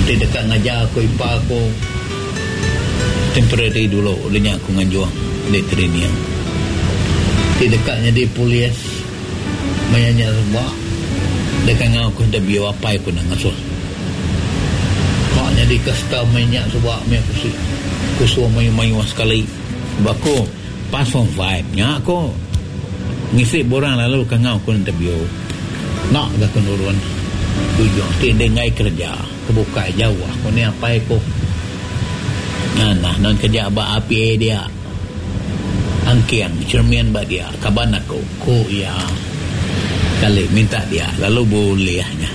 Ti deka ngajar aku ipar aku temporary dulu udah nya aku nganjung di training. Ti deka nyadi polis maya nya suba deka ngau aku interview apai ku enda ngasuh. Ka nyadi custom maya nya suba meh aku si kusung mayuh-mayuh sekali. Ba aku pass form five nya aku ngisi borang lalu ka ngau ku interview. Enda ga ku nurun ujung ti enda enggai kereja ke bukai jauh ku ni apai ku. Nganah nan kereja ba RPA dia angking cermin ba dia kaban aku ku iya kali minta dia lalu bulih nya.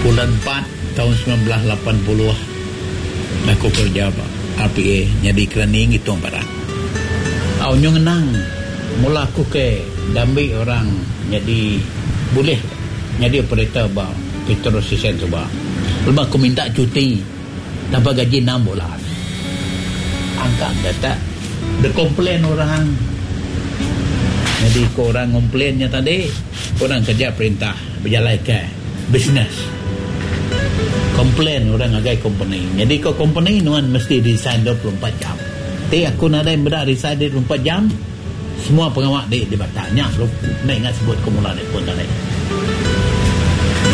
Bulan empat taun 1980 aku kereja ba RPA nyadi kerani ngitung barang. Au nyu ngenang. Mula aku ke dambi orang nyadi bulih nyadi operator ba petrol station suba. Lebuh aku minta cuti tanpa gaji enam bulan. Angka enda tak dikomplain orang. Nyadi ko orang ngomplain nya tadi orang kerja perintah bejalaika bisnes. Komplain orang ngagai kompeni. Nyadi ko kompeni nuan mesti resign 24 jam. Ti aku nadai meda resign 24 jam, semua pengawa di dibatak nya lalu enda ingat sebut ku mula di pun tadi.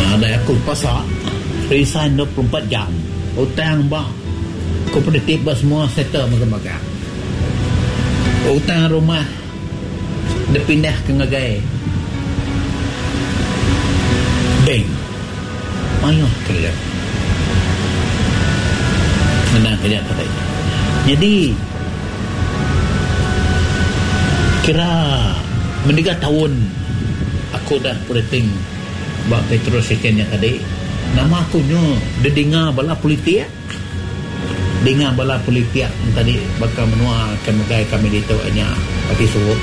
Nadai aku pasa resign 24 jam. Utang ba kooperatif ba semua settle magang-magang. Utang rumah dipindah ke ngagai bank. Mayuh kereja. Ngena kereja tadi. Nyadi kira meniga taun aku udah operating ba petrol station nya tadi nama aku nyu didinga bala politik. Dinga bala politik tadi baka menua ke megai kami ditu nya Parti Surup.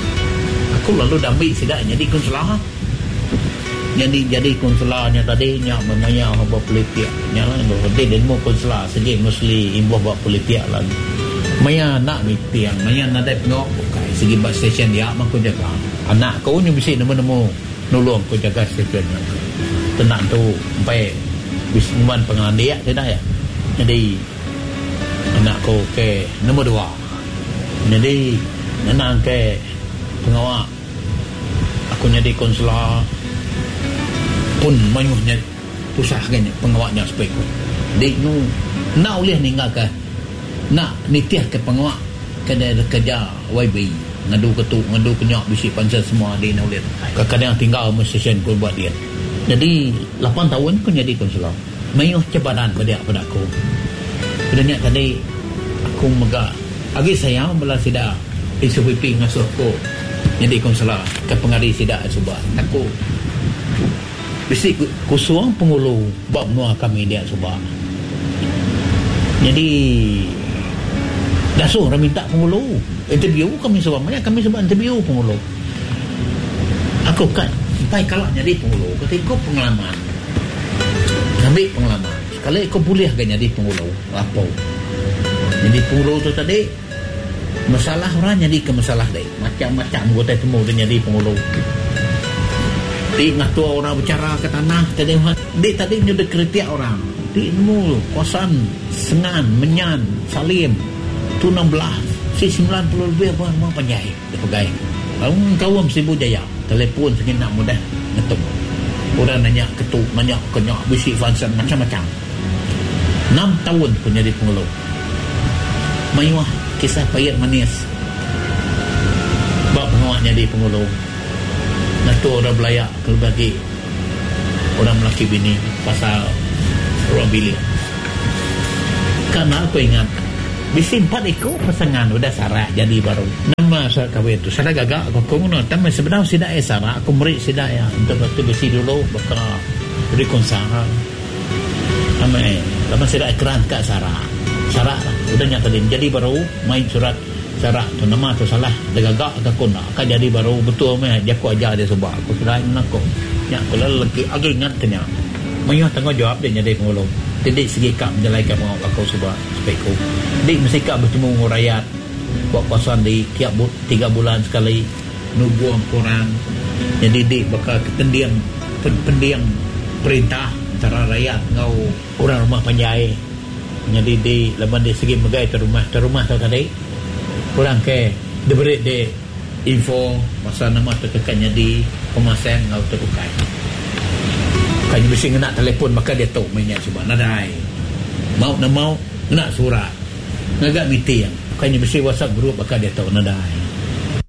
Aku lalu dambi sida nyadi kunsela. Nyadi jadi kunsela nya tadi nya maya ba politik nya lah enti deh nemu kunsela sigi mostly imbuh ba politik lah. Maya enda meeting maya nadai pengawa bukai sigi ba stesen dia mah ku jaga. Anak ku nyu bisi nemu-nemu nulung ku jaga stesen nya. Tenang tu empai bisi nyuman pengelandik sida iya. Nyadi anak ku ke nombor dua. Nyadi ngenang ke pengawa aku nyadi kaunselor pun mayuh nya tusah agi nya pengawa nya sepik ku. Di nyu enda ulih ninggalka enda nitihka pengawa ke dikereja YB ngadu ke tu ngadu ke nya bisi pansa semua di enda ulih. Kadang tinggal meh session ku ba din. Nyadi lapan taun ku nyadi kaunselor. Mayuh cabaran ba dia peda aku. Peda nya tadi aku mega agi sayau bala sida SUPP ngasuh aku nyadi kaunselor ke pengari sida suba. Aku bisi kusung pengulu ba menua kami dia suba. Nyadi dasuh orang minta pengulu interview kami suba. Maya kami suba interview pengulu. Aku ka empai kala nyadi pengulu kati ku pengalaman. Ngambi pengalaman sekali ku bulih ga nyadi pengulu apo. Nyadi pengulu tu tadi masalah orang nyadi ke masalah dei macam-macam utai temu deh nyadi pengulu. Ti ngatur orang bechara ke tanah tadi di tadi nyudah kritik orang ti nemu kawasan Sengan, Menyan, Salim, Tunang Belah si 90 lebih ba rumah panjai. Dipegai lalu nyengkaum Sibu Jaya, telefon sigi enda mudah ngetu. Orang nanya ke tu, nanya ke nya, bisi function macam-macam. Enam taun ku nyadi pengulu. Mayuh kisah pait manis ba pengawa nyadi pengulu. Ngatur orang belaya kelebih agi orang melaki bini pasal ruang bilik. Ka enda ku ingat. Bisi empat iku pasangan udah sarak jadi baru. Nama sarak kawin tu sarak gaga ko aku nguna tang meh sebedau sida iya sarak aku meri sida iya ento batu besi dulu baka reconcile tang meh laban sida iya keran ka sarak sarak lah udah nya tadi jadi baru mai surat sarak tu nama tu salah digaga ka aku enda ka jadi baru betul meh jaku ajar dia suba ku sida iya nguna ko nya ku lalu agi ingat ke nya mayuh tanggungjawab dia nyadi pengulu ti di sigi ka bejalaika pengawa aku suba. Speku. Di mesti ka betemu enggau rayat ba kawasan di tiap tiga bulan sekali nugong ke orang nyadi di baka ke pending pending perintah. Entara rayat enggau orang rumah panjai nyadi di laban di sigi megai tu rumah tu rumah tu tadi orang ke diberi di info pasal nama tu ke nyadi pemasang enggau tu bukai. Bukai nya bisi ngena telefon baka diatu meh nya suba nadai. Mau ne mau ngena surat ngaga meeting bukai nya bisi whatsapp group baka diatu nadai.